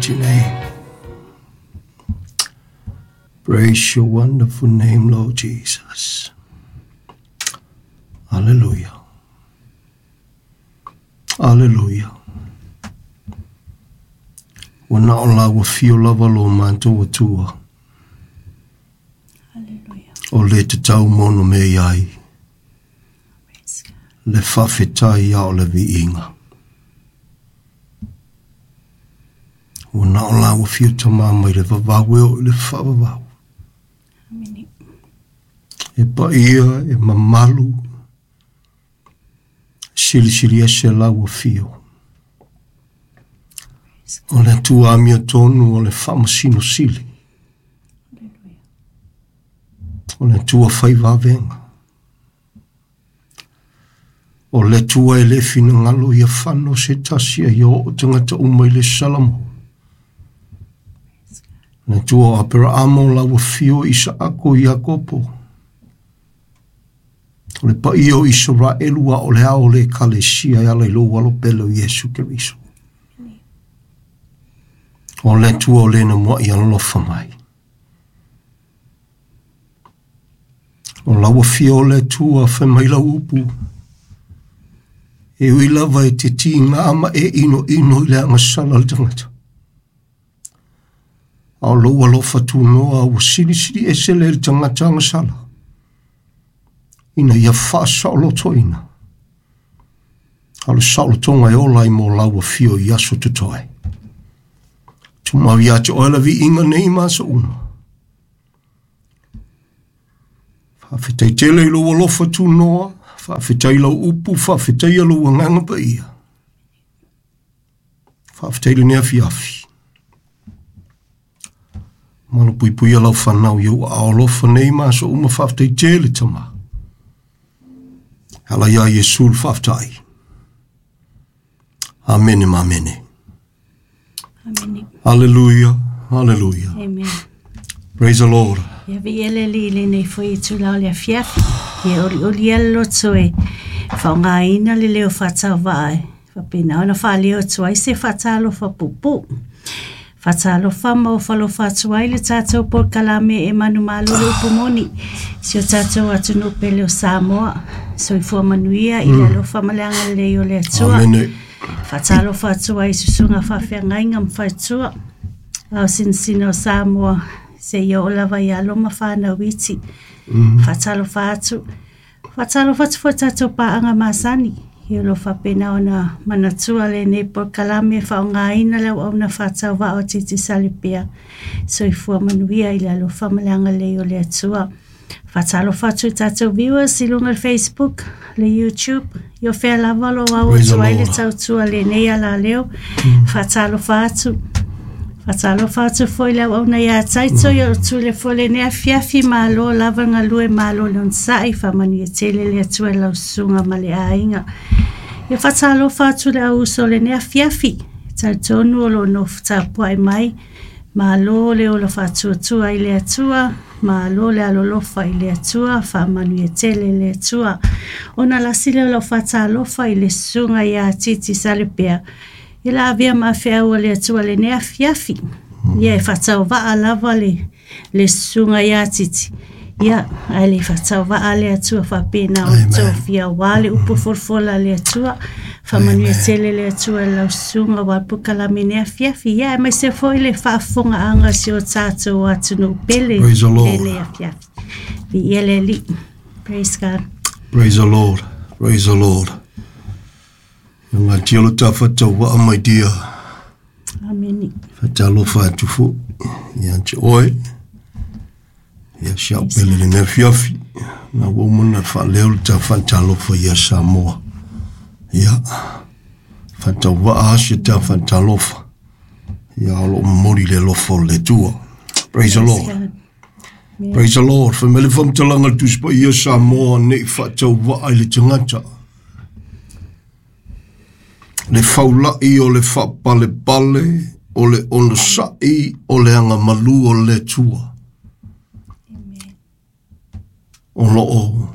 mighty name. Praise your wonderful name, Lord Jesus. Hallelujah. Hallelujah. Ua na o lau afio lava lo matou Atua. Hallelujah. O le tatau ma ona mea i ai. Praise God. Le faafetai a o le viiga. Ua na o lau afio Tama mai le vavau e oo i le faavavau. Amene. E paia, e mamalu, silisili ese lau afio. O le Atua amiotonu o le faamasino sili. Hallelujah. O le Atua fai vavega. O le Atua e le finagalo ia fano se tasi a ia oo tagata uma i le Salamo. Le Atua o Aperaamo lau afio Isaako Iakopo. O le paia o Isaraelu a o le ao o le Ekalesia e ala i lou alo pele o Iesu Keriso. O le Atua o lena mua'i alofa mai. O lau afio o le Atua fai mai lau upu. E ui lava e te tiga ma e inoino i le agasala le tagata. A o lou alofa tunoa ua silisili ese le le tagata agasala. Ina ia faasaolotoina. A o le saolotoga e ola ai mo lau afio i aso totoe. Tumau ia te oe la viiga nei ma aso uma. Faafetai tele i lou alofa tunoa, faafetai lau upu, faafetai lou agaga paia. Faafetai lenei afiafi. Malupuipuia lau fanau i ou aao alofa nei ma aso uma, faafetai tele Tama. Ala ia Iesu le faafetai. Amene ma amene. Amene. Hallelujah, hallelujah. Amen. Praise the Lord. Ia viia le Alii i lenei foi itula o le afiafi. Ia olioli ia le loto e faaaogaina le leo faatauvaa e faapena ona faaleo atu ai se faatalofa puupuu. Faatalofa ma ofalofa atu ai le tatou polokalame e manumalo le upu moni. Si o tatou atunuu pele o Samoa. Soifua manuia i le alofa ma le agalelei o le Atua. Amene. Faatalofa atu ai i susuga faafeagaiga ma faletua. Ao sinasina o Samoa seia oo lava i alo ma fanau iti. Faatalofa atu. Faatalofa atu foi i tatou paaga masani. Ia o lo o faapena ona manatua lenei polokalame e faaaogaina le auauna faatauvaa o Tiitisalepea. Soifua manuia i le alofa ma le agalelei o le Atua. Faatalofa atu i tatou viewers i luga o le Facebook, le YouTube, i o fea lava o lo o au Praise the atu ai le Lord. tautua lenei alaleo. Faatalofa atu. Faatalofa atu foi le auauna ia Taito, ia o tule foi lenei afiafi, malo lava le galue, malo le onosai, faamanuia tele le Atua i lau susuga ma le aiga. Ia faatalofa atu le auuso o lenei afiafi, talitonu o lo o nofo tapuai mai, malo le ola faatuatua i le Atua, malo le alolofa i le Atua, faamanuia tele le Atua. Ona lasi lea o lau faatalofa i le susuga ia Titi Salepea, i la avea ma feau a le Atua lenei afiafi. Ia e faatauvaa lava le susuga ia Titi. Ia, ae le faatauvaa le Atua faapena ona Amen. tofia aua le upu folafola a le Atua. Faamanuia tele le Atua i lau susuga aua le polokalame nei afiafi. Ia, aemaise foi le faafofogaaga a si o tatou atunuu pele Praise the Lord. lenei afiafi. Viia le Alii. Praise God. Praise the Lord. Praise the Lord. Ia ngatia lo ta faatauvaa my dear. Amene. Faatalofa atu foi ia te oe. Ia si au pele lenei afiafi. Na ua uma ona faaleo le ta faatalofa ia Samoa. Ia, faatauvaa asi ta faatalofa. Ia o loo momoli le alofa o le Atua. Praise the Praise Lord. God. Praise the Lord. Fai mai le faamatalaga le Tusi Paia Samoa nei faatauvaa i le tagata. Le faulai o le faapalepale, o le onosai, o le agamalu o le Atua. O loo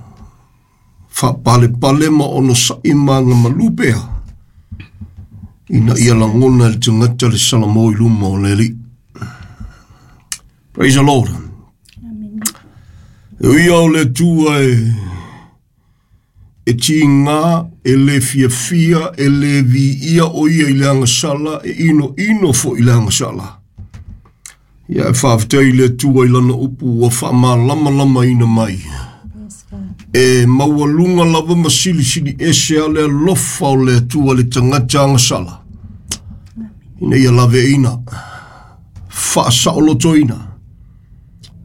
faapalepale ma onosai ma agamalu pea. Ina ia lagona e le tagata le salamo i luma o le Alii. Praise the Lord. Amen. E ui o le Atua e tiga, e le fiafia, e le viia o ia i le agasala, e ino ino foi i le agasala. Ia e faafetai i le Atua i lana upu ua faamalamalamaina mai. Yes, God. E maualuga lava ma silisili ese a le alofa o le Atua le tagata agasala. Ina ia laveina, faasaolotoina.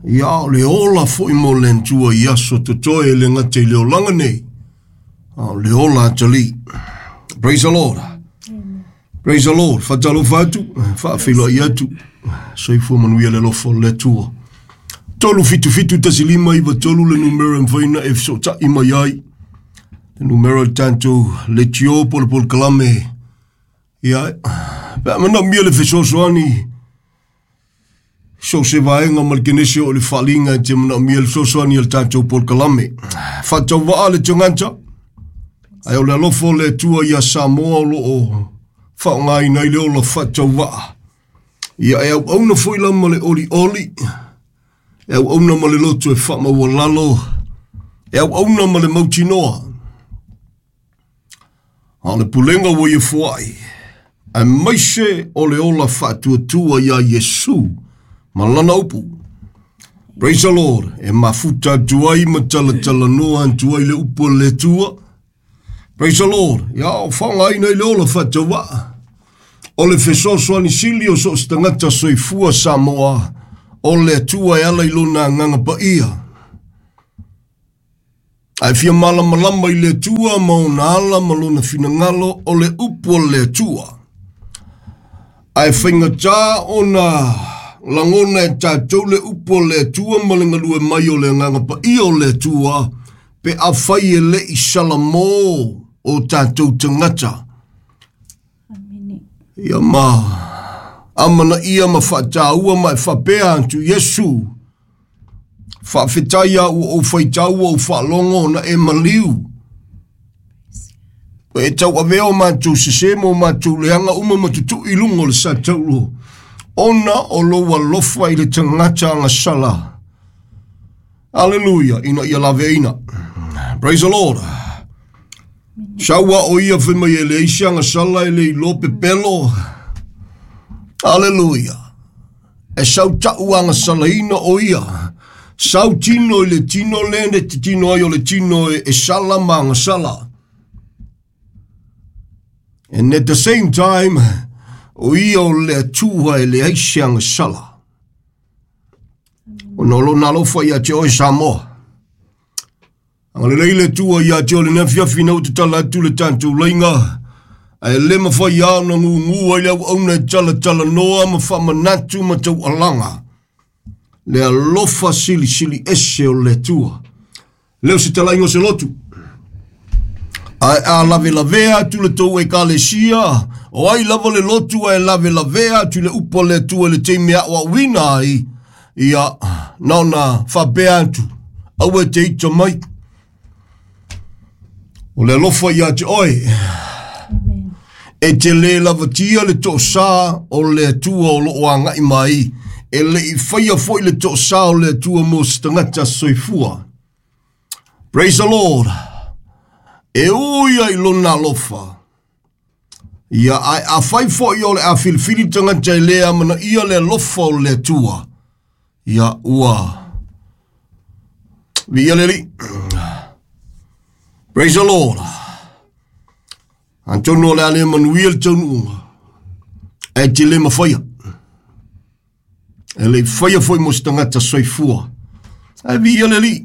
Ia o le ola foi mo le Atua i aso totoe e le gata i le olaga nei, a o le ola atalii. Praise the Lord. Amen. Praise the Lord. Faatalofa atu, faafeiloai atu. Soifua manuia le alofa o le Atua. 3771593 le numera e mafai ona e fesootai mai ai. Le numera o le tatou leitio po o le polokalame. Ia, pe a manaomia le fesoasoani, so se vaega ma le kenese o le faaliga e te manaomia le fesoasoani o le tatou polokalame. Faatauvaa le tagata, ae o le alofa o le Atua ia Samoa o lo o faaaogaina ai le ola faatauvaa. Ia e auauna foi la ma le olioli, e auauna ma le loto e faamaualalo, e auauna ma le mautinoa. A o le pulega ua ia foai, aemaise o le ola faatuatua ia Iesu ma lana upu. Praise the Lord. E mafuta atu ai ma talatalanoa atu ai le upu a le Atua. Praise the Lord. Ia o faaaogaina i le ola faatauvaa. O le fesoasoani sili o so o se tagata soifua Samoa, o le Atua e ala i lona agaga paia. Ae fia malamalama i le Atua ma ona ala ma lona finagalo, o le upu a le Atua. Ae faigata ona lagona e tatou le upu a le Atua ma le galue mai o le agaga paia o le Atua, pe afai e le i salamo o tatou tagata. Amen. Ia ma amanaia ma faataua ma e faapea atu Iesu, faafetai a ua ou faitau ua ou faalogo ona e maliu. E tau avea o matou sese ma o matou leaga uma ma tutui i luga o le sa taulo, ona o lou alofa i le tagata agasala. Aleluia, ina ia laveina. Praise the Lord. Saua o ia fai mai e leai se agasala e le iloa pepelo. Aleluia. E sau tau agasalaina o ia. Sau tino i le tino le ne te tino ai o le tino e sala ma agasala. And at the same time, o ia o le Atua e leai se agasala. Ona o lona alofa ia te oe Samoa. Agalelei le Atua ia te oe lenei afiafi ina ua tatala atu le tatou laiga, ae le mafai lava ona gugu ai le auauna e talatalanoa ma faamanatu ma taualaga le alofa silisili ese o le Atua. Leo se talaiga o se lotu. Ae a lavelavea atu le tou ekalesia, o ai lava le lotu ae lavelavea atu i le upu a le Atua i le taimi e aoaoina ai, ia na ona faapea atu, aua e te ita mai. O le alofa ia te oe. Amen. E te le lavatia le toosā o le Atua o lo o agai mai, e le i faia foi le toosā o le Atua mo se tagata soifua. Praise the Lord. E ui ai lona alofa. Ia ae afai foi o le a filifili tagata e le amanaia le alofa o le Atua, ia ua viia le Alii. Praise the Lord. Atonu o le a le manuia le taunuuga, ae te le mafaia. E le i faia foi mo se tagata soifua. Ae viia le Alii.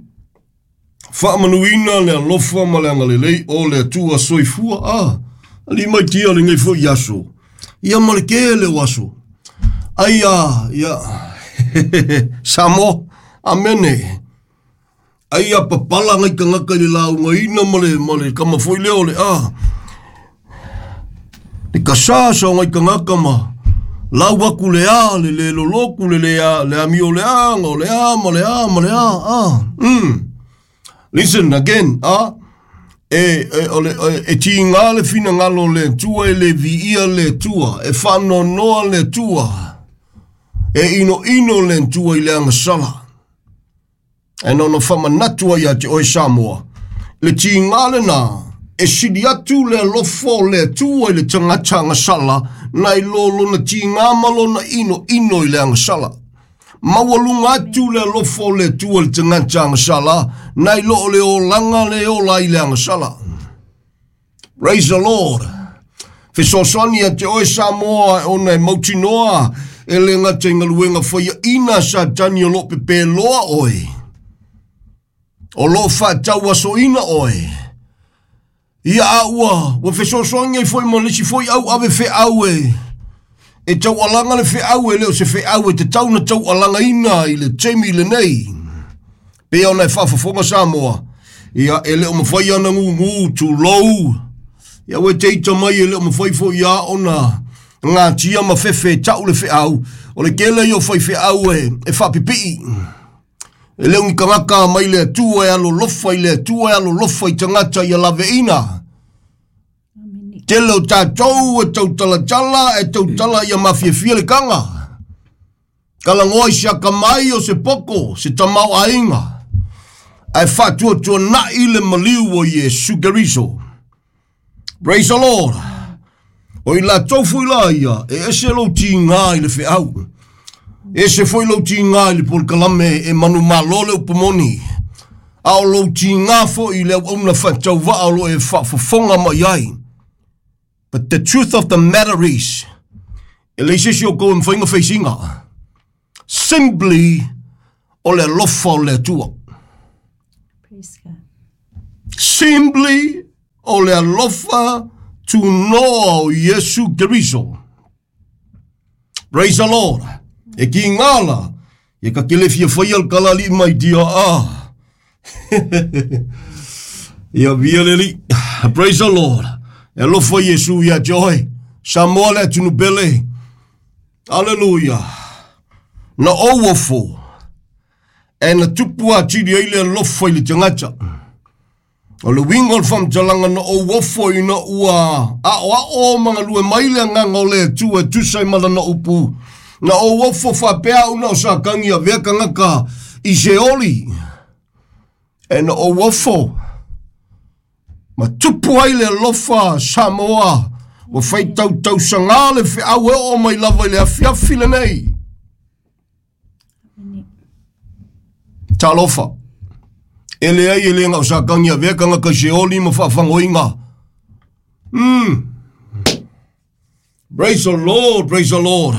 Faamanuina le alofa ma le agalelei o le Atua soifua. Ah, alii mai tia lenei foi aso. Ia ma le tele o aso. Ai a, ia, Samoa, amene. Ai a papala ngai tagata i le laugaina ma le kama foi lea o le a. Le kasasa o ngai tagata ma lau aku le a, le le loloku, le le a, le amio le a, o le a, ma le a, ma le a, a. Listen again, a. E tiga le finagalo o le Atua, e le viia le Atua, e faanoanoa le Atua, e inoino le Atua i le agasala. E na ona faamanatu ai ia te oe Samoa, le tiga lena, e sili atu le alofa o le Atua i le tagata agasala, nai lo lona tiga ma lona inoino i le agasala. Maualuga atu le alofa o le Atua i le tagata agasala, nai lo o le olaga le ola i le agasala. Praise the Lord. Fesoasoani ia te oe Samoa ona e mautinoa e le gata i galuega faiaina Satani o loo pepeloa oe, o loo faatauasoina oe. Ia a ua fesoasoani ai foi ma le isi foi au ave feau e taualaga le feau e le o se feau e tatau na taualagaina i le taimi lenei. Pei ona e faafofoga Samoa, ia e le o mafai ana gugu tulou, ia ua te ita mai e le o mafai foi ia ona ngatia ma fefe tau le feau, o le tele ia o fai feau e faapipii. E le o ni tagata mai le Atua e alolofa i le Atua e alolofa i tagata ia laveina. Tele o tatou e tautalatala, e tautala ia mafiafia le kaga. Kalagoa i se akamai o se poko, se tamao aiga. Ae faatuatuanai le maliu o Iesu Keriso. Praise the Lord. O i latou foi la ia, e ese lou tiga i le feau. Ese foi lou tiga i le polokalame e manumalo le upu moni. A o lou tiga foi i le auauna faatauvaa o lo e faafofoga mai ai. But the truth of the matter is, e leai se isi o kou e mafai ona feisiga. Simply, o le alofa o le Atua. Praise God. Simply, o le alofa tunoa o Iesu Keriso. Praise the Lord. E ki ngala, e ka kele fia whai al kalali mai tia a. Ia via leli. Praise the Lord. E alofa Iesu ia te oe. Samoa le atunu pele. Hallelujah. Na ou ofo. E na tupu atili ai le alofa i le tagata. O le uiga o le faamatalaga na ou ofo ina ua aoao ma galue mai le agaga o le Atua e tusa ai ma lana upu. Na ou ofo faapea au na o sakagi avea tagata i Seoli. E na ou ofo ma tupu ai le alofa Samoa ua faitautausaga le feau e oo mai lava i le afiafi lenei. Talofa. E leai e le gao sakagi avea tagata i Seoli ma faafagoiga. Praise the Lord, praise the Lord.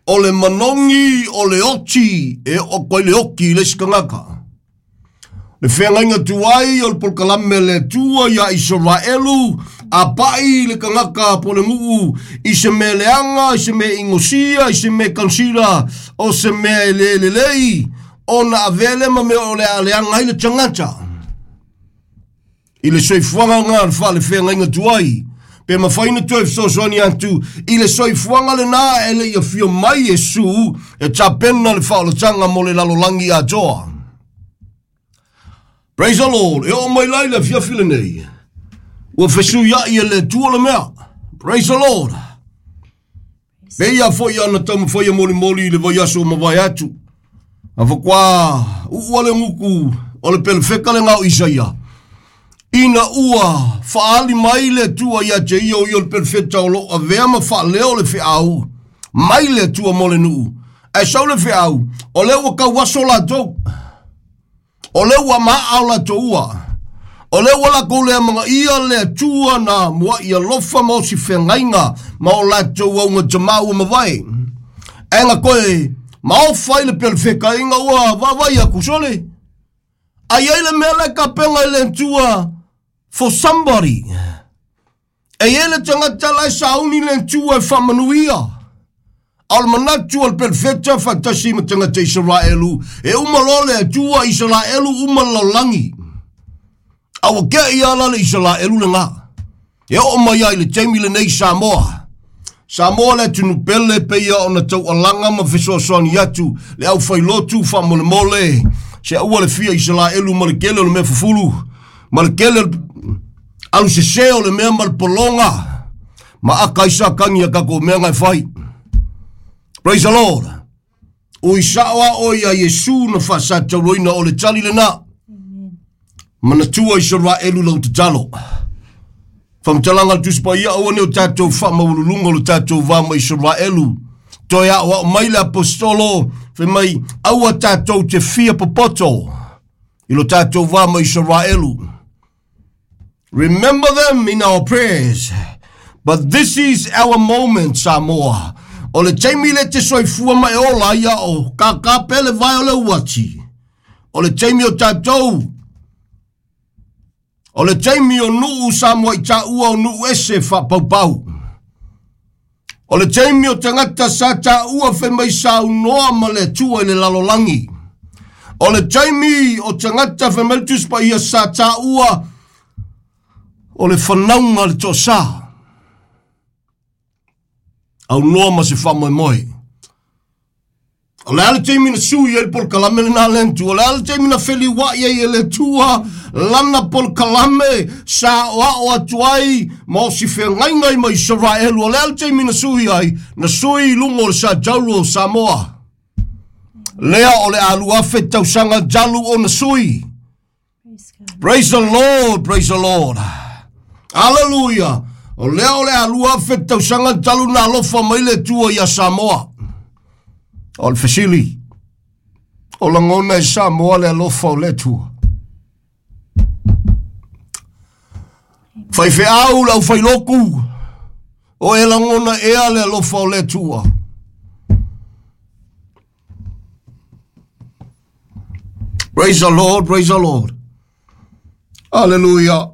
O le manogi o le oti e oo atu ai le oti i le isi tagata. Le feagaiga tuai o le polokalame le Atua ia Isaraelu a pai le tagata po le nuu i se mea leaga, i se mea inosia, i se mea kansila, o se mea e le lelei, ona avea lea ma mea o le a leaga ai le tagata. I le soifuaga lena le faalefeagaiga tuai, pe mafai ona toe fesoasoani atu i le soifuaga lena e le i afio mai Iesu e tapena le faaolataga mo le lalolagi atoa. Praise the Lord. E oo mai la i le afiafi lenei, ua fesuiai e le Atua le mea. Praise the Lord. Pei a foi ana taumafai e molimoli i le vaiaso o mavae atu. A faatoa uua le gutu o le pelefeka lena o Isaia. Ina ua faaali mai le Atua ia te ia o ia o le pelefeta o loo avea ma faaleo le feau mai le Atua mo le nuu. Ae sau le feau, o lea ua tauaso latou. O lea ua maa o latou ua. O lea ua latou le amanaia le Atua na muai alofa ma osi feagaiga ma o latou augatamā ua mavae. Ae na toe maofa ai le pelefeka ina ua vaavaai atu sole. Ai ai le mea la e tapena i le Atua for somebody. E i ai le tagata la e sauni le Atua e faamanuia. A o le manatu o le pelefeta faatasi ma tagata Isaraelu, e uma loa le Atua Isaraelu uma le lalolagi. A ua tea ia la le Isaraelu lena. E oo mai ai i le taimi lenei Samoa. Samoa le atunu pele pei ona taualaga ma fesoasoani atu le aufailotu faamolemole se aua le fia Isaraelu ma le tele o le mea fufulu ma le tele o le. Alu sesē o le mea ma le pologa ma aka ai sa kagi a takou mea ga e fai. Praise the Lord. Ui sa'o a oe iā Iesu na faasatauloina o le tali lenā. Manatua Isaraelu lau tatalo. Faamatalaga a le Tusi Paia aua ne o tatou faamaualuluga o le tatou va ma Isaraelu. Toe aoao mai le Aposetolo fai mai aua tatou te fia popoto i lo tatou va ma Isaraelu. Remember them in our prayers. But this is our moment, Samoa. O le taimi le te soifua ma e ola ai a o kākā pea le vae o le uati. O le taimi o tatou. O le taimi o nuu Samoa i tāua o nuu ese whaapaupau. O le taimi o tagata sa tāua fai mai saunoa ma le Atua i le lalolagi. O le taimi o tagata fai mai le Tusi Paia sa tāua o le fanauga le toasā. Aunoa ma se faamoemoe. O le a le taimi na sui ai le polokalame lenā le Atua? O le a le taimi na feliuaʻi ai e le Atua lana polokalame sa aoao atu ai ma o si feagaiga ai ma Isaraelu? O le a le taimi na sui ai? Na sui i luga o le satauro o Samoa. Lea o le a 2000 tausaga talu ona sui. Praise the Lord, praise the Lord. Hallelujah. O lea o le a 2000 tausaga talu na alofa mai le Atua ia Samoa. O le fesili, o lagona e Samoa le alofa o le Atua. Faifeau le aufailoku, o e lagona ea le alofa o le Atua. Praise the Lord, praise the Lord. Hallelujah.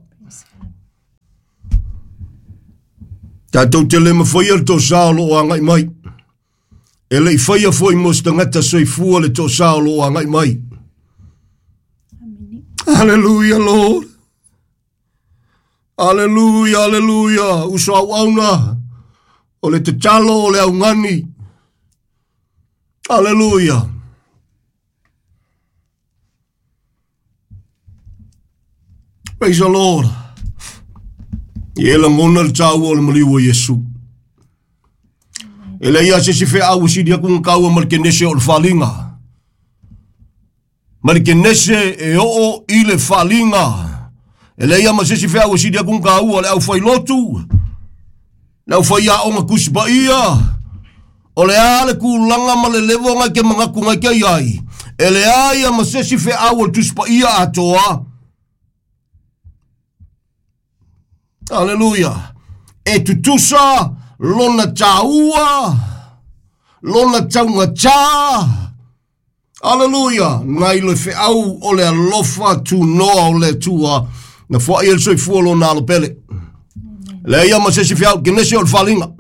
Tatou te le mafaia le toasā o loo agai mai. E le i faia foi mo se tagata soifua le toasā o loo agai mai. Hallelujah, Lord. Hallelujah, hallelujah. Uso auauna o le tatalo o le augani. Hallelujah. Praise the Lord. Ia e lagona le tāua o le maliu o Iesu. E leai lava se isi feau e sili atu ona taua ma le kenese o le faliga. Ma le kenese e oo i le faliga. E leai lava ma se isi feau e sili atu ona taua le aufailotu, le aufaiaoga Tusi Paia, O le a le tulaga ma le level ngai ke manatu ngai ke iai, e leai a ma se isi feau o le Tusi Paia atoa. Aleluia. E tutusa lona tāua, lona taugatā. Aleluia. Nai le feau o le alofa tunoa o le Atua na foai ai le soifua lona alo pele. Leai a ma se isi feau, kenese o le faliga.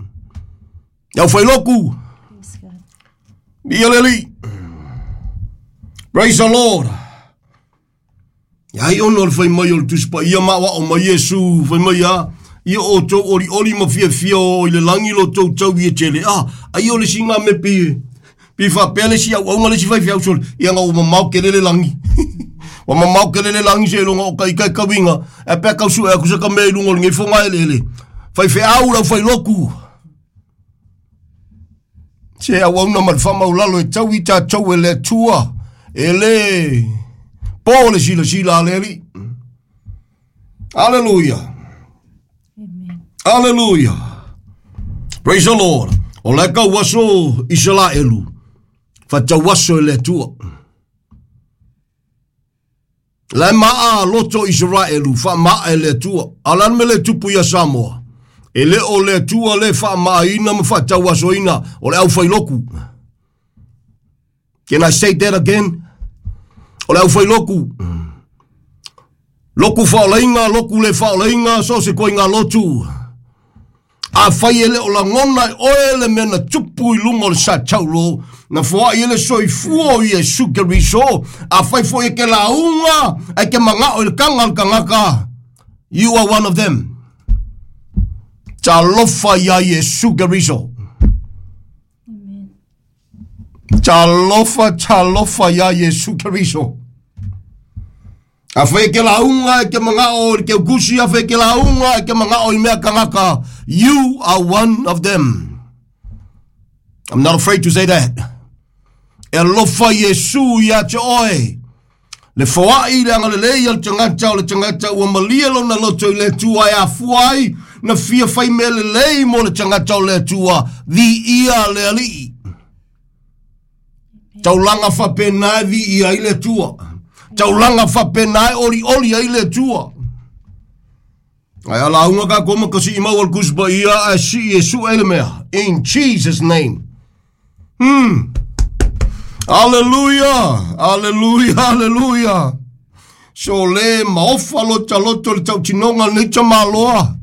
Iau whailoku. Ia le Alii. Praise the Lord. Ia ai ona o le fai mai o le Tusi Paia ma aoao mai Iesu, fai mai a, ia outou olioli ma fiafia o i le lagi lo tou taui e tele. Ah, ai o le isi ngā me pi, pi faapea le isi auaunga le isi faifeau sole, ia nga ua mamao kele le lagi. Ua mamao kele le lagi seiloga o ka ika e kauiga, e pea kau sue aku se ka mea i luga o lenei fogaeleele. Faifeau lau failoku. Se auauna ma le faamaulalo e tau i tatou e le Atua, e le po le silasila a le Alii. Aleluia. Aleluia. Praise the Lord. O le kau aso Isaraelu, whatau aso e le Atua. La e maa loto Isaraelu, whaamaa e le Atua. A o le a le mea lea e tupu ia Samoa? E le o le Atua le faamaaina ma faatauasoina o le aufailoku. Can I say that again? O le aufailoku. Loku faaolaina, loku le faaolaina, so o se koiga lotu. Afai e le o lagona e oe le mea na tupu i luga o le satauro, na foai ai le soifua o Iesu Keriso, afai foi e ke lauga, ae ke magao i le kaga o le tagata, you are one of them. Talofa iā Iesu Keriso. Talofa, talofa iā Iesu Keriso. Afai e ke lauga e ke maga'o i le keukusi, afai e ke lauga e ke maga'o i mea tagata, you are one of them. I'm not afraid to say that. E alofa Iesu iā te oe. Le foa'i le agalelei a le tagata o le tagata ua malie lona loto i le Atua e afua ai na fia fai mea lelei mo le tagata o le Atua, viia le Alii. Taulaga faapena e viia ai le Atua. Taulaga faapena e olioli ai le Atua. Ae a lauga tatou ma kasii maua le Tusi Paia ae sii e sue le mea. In Jesus name. Hallelujah. Hallelujah. Hallelujah. So le maofa lota loto le tautinoga lenei tamaloa.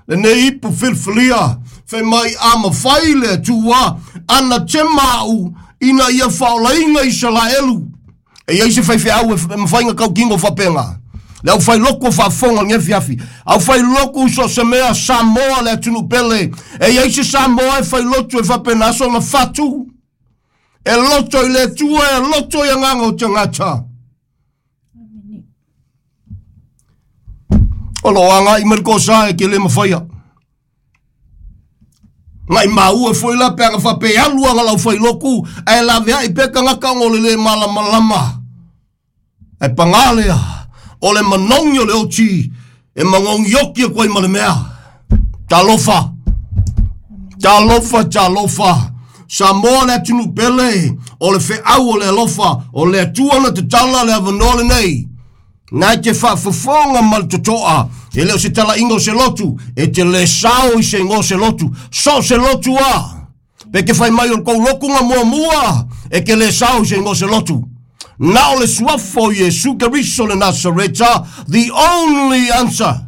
Lenei ipu filifilia. Fai mai a mafai le Atua ana tema au ina ia faaolaina Isalaelu. E i ai se faifeau e mafai ona tautino faapena. Le aufailoko o faafofoga i lenei afiafi. Aufailoko so o se mea Samoa le atunuu pele. E i ai se Samoa e failotu e faapena sona fatu. E loto i le Atua, e loto i agaga o tagata. O lo o agai mai le kosa e ke le mafaia. Ngai maua foi la pe aga faapea e alu aga lau failoku ae laveai pea tagata ona o le le malamalama. Ae pagā lea, o le manogi o le oti e manogi oti atu ai ma le mea. Talofa! Talofa, talofa! Samoa le atunuu pele, o le feau o le alofa, o le Atua na tatala le avanoa lenei. Na e te faafofoga ma le totoa, e le o se talaiga o se lotu, e te le sao i se igoa o se lotu, so o se lotu a. Pe te fai mai o le tou lotu na muamua, e te le sao i se igoa o se lotu. Na o le suafa o Iesu Keriso le Nasareta, the only answer.